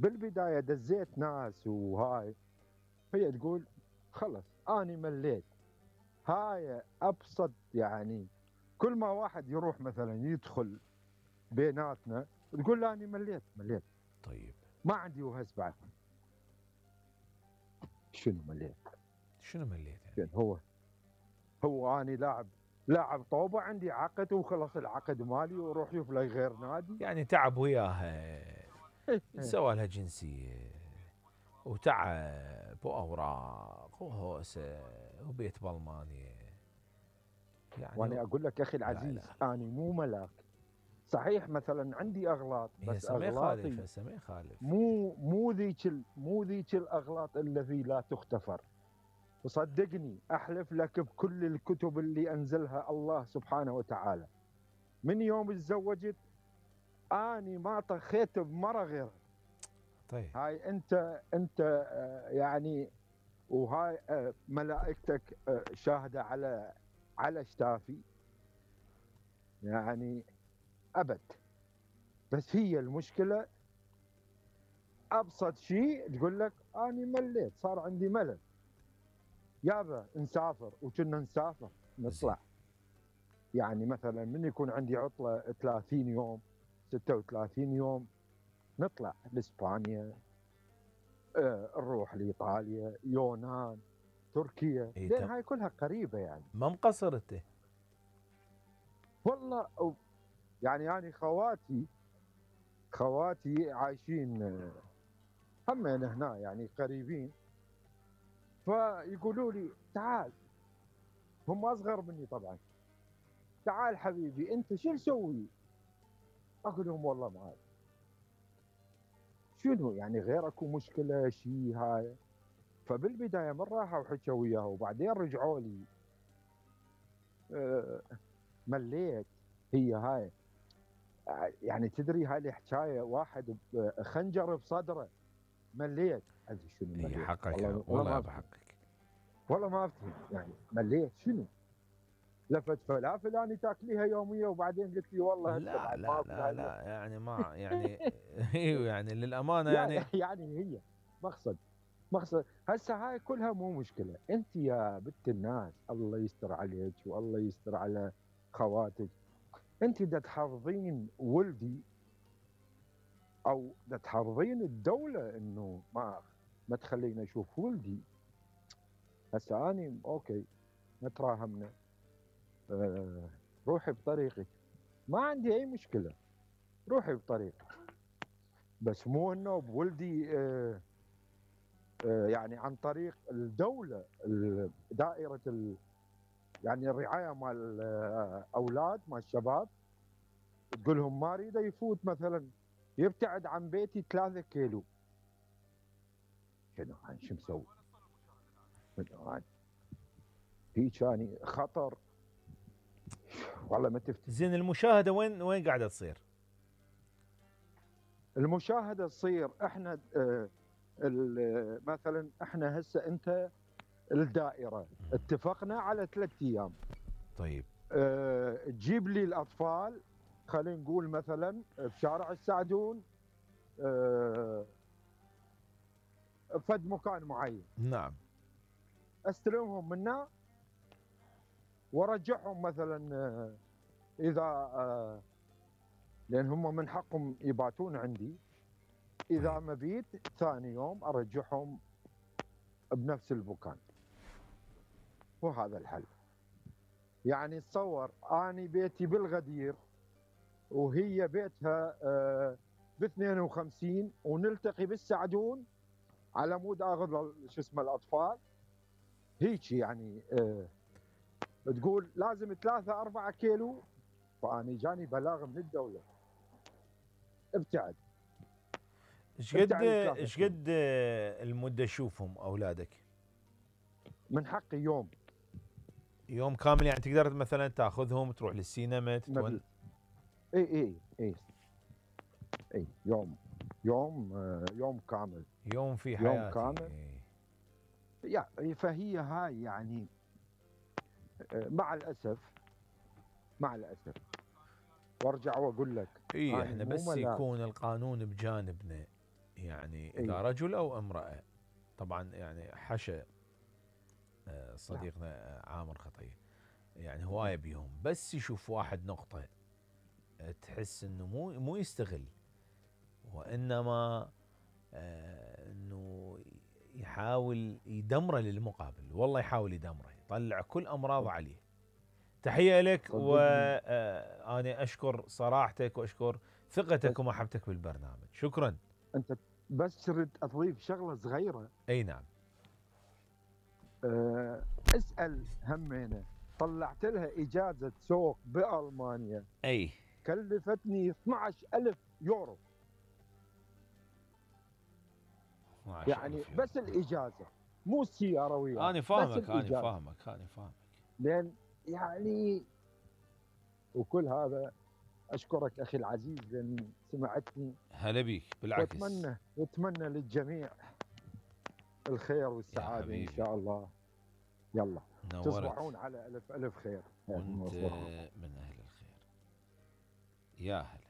بالبدايه دزيت ناس وهاي، هي تقول خلص اني مليت. هاي ابسط يعني، كل ما واحد يروح مثلا يدخل بيناتنا تقول له اني مليت. طيب ما عندي وهس بعد. شنو مليت يعني؟ هو اني لاعب طوبه، عندي عقد وخلص العقد مالي وروح يوف لي غير نادي. يعني تعب وياها، سوى لها جنسية وتعب وأوراق وهوسة وبيت بالمانيا يعني. وانا اقول لك اخي العزيز، لا. اني مو ملاك. صحيح مثلا عندي اغلاط، بس هسه ما يخالف، اغلاطي مو ذيك الاغلاط التي لا تغتفر. وصدقني احلف لك بكل الكتب اللي انزلها الله سبحانه وتعالى، من يوم تزوجت اني ما طخيت بمره غيرها. طيب هاي انت يعني، وهاي ملائكتك شاهده على شتافي يعني ابد. بس هي المشكله ابسط شيء تقول لك اني مليت، صار عندي ملل. يابا نسافر، وكنا نسافر نطلع. يعني مثلا من يكون عندي عطله 30 يوم 36 يوم نطلع لاسبانيا، نروح لايطاليا، يونان، تركيا، لان هاي كلها قريبه يعني. ما مقصر انت؟ والله يعني انا خواتي عايشين همين هنا يعني قريبين، فيقولوا لي تعال، هم اصغر مني طبعا، تعال حبيبي انت شو نسوي؟ اقول لهم والله ما أعرف. شنو يعني غير اكو مشكله شيء هاي؟ فبالبدايه من راحوا وحكوا وياه وبعدين رجعوا لي مليت. هي هاي يعني تدري هاي الحكايه، واحد خنجر بصدره مليت. ادري شنو اي مليت؟ حقك والله والله ما بحقك. والله ما افتهم يعني مليت شنو؟ لفت فلافل اني تاكليها يوميه وبعدين قلت لي والله هسه لا بعد لا ما اكل لا هاي. لا يعني ما يعني يعني للامانه يعني يعني. يعني هي مقصد هسه هاي كلها مو مشكله. انت يا بنت الناس الله يستر عليك والله يستر على خواتك، انت دا تحافظين ولدي او دا تحافظين الدوله انه ما تخليني اشوف ولدي. هسه اني اوكي نتراهمنا، روحي بطريقك، ما عندي اي مشكله، روحي بطريقك، بس مو انه بولدي يعني عن طريق الدوله، دائره يعني الرعايه مال الاولاد مال الشباب، تقول لهم ما اريده يفوت مثلا يبتعد عن بيتي 3 كيلو. شنو هاي شو مسوي؟ شنو هاي؟ هيك يعني خطر والله ما تفتكر. زين المشاهده وين قاعده تصير؟ المشاهده تصير احنا مثلا احنا هسه انت الدائره اتفقنا على 3 ايام. طيب تجيب لي الاطفال، خلينا نقول مثلا بشارع السعدون، فد مكان معين، نعم استلمهم منا وارجعهم مثلا اذا لان هم من حقهم يباتون عندي. اذا طيب. مبيت ثاني يوم ارجعهم بنفس المكان، وهذا الحل. يعني تصور اني بيتي بالغدير وهي بيتها ب 52 ونلتقي بالسعدون على مود اخذ شو اسمه الاطفال. هيك يعني تقول لازم 3 4 كيلو، فاني جاني بلاغ من الدوله ابتعد. ابتعد 3 ايش كيلو. قد المده تشوفهم اولادك؟ من حقي يوم كامل يعني تقدر مثلا تاخذهم تروح للسينما اي اي اي يوم كامل. يوم في يوم حياتي كامل. فهي هاي يعني مع الاسف وارجع واقول لك اي اني احنا مو بس ملاك. يكون القانون بجانبنا يعني إي. اذا رجل او امراه، طبعا يعني حشا صديقنا عامر خطيه، يعني هوايه بيهم، بس يشوف واحد نقطه تحس انه مو يستغل، وانما انه يحاول يدمره للمقابل، والله يحاول يدمره، يطلع كل امراضه عليه. تحيه لك، صدقني وانا اشكر صراحتك واشكر ثقتك بس ومحبتك بالبرنامج، شكرا. انت بس تريد اضيف شغله صغيره. اي نعم. أه اسال همينه، طلعت لها اجازه سوق بالمانيا اي كلفتني 12,000 يورو، 12,000 يعني يورو. بس الاجازه، مو السياره وياها، انا بس فاهمك انا الاجازه. فاهمك انا فاهمك. لان يعني وكل هذا اشكرك اخي العزيز لان سمعتني، هلا بيك، بالعكس. واتمنى للجميع الخير يا والسعاده ان حبيبي شاء الله. يلا نورت، تصبحون على الف الف خير. وانت من اهل الخير. يا هلا.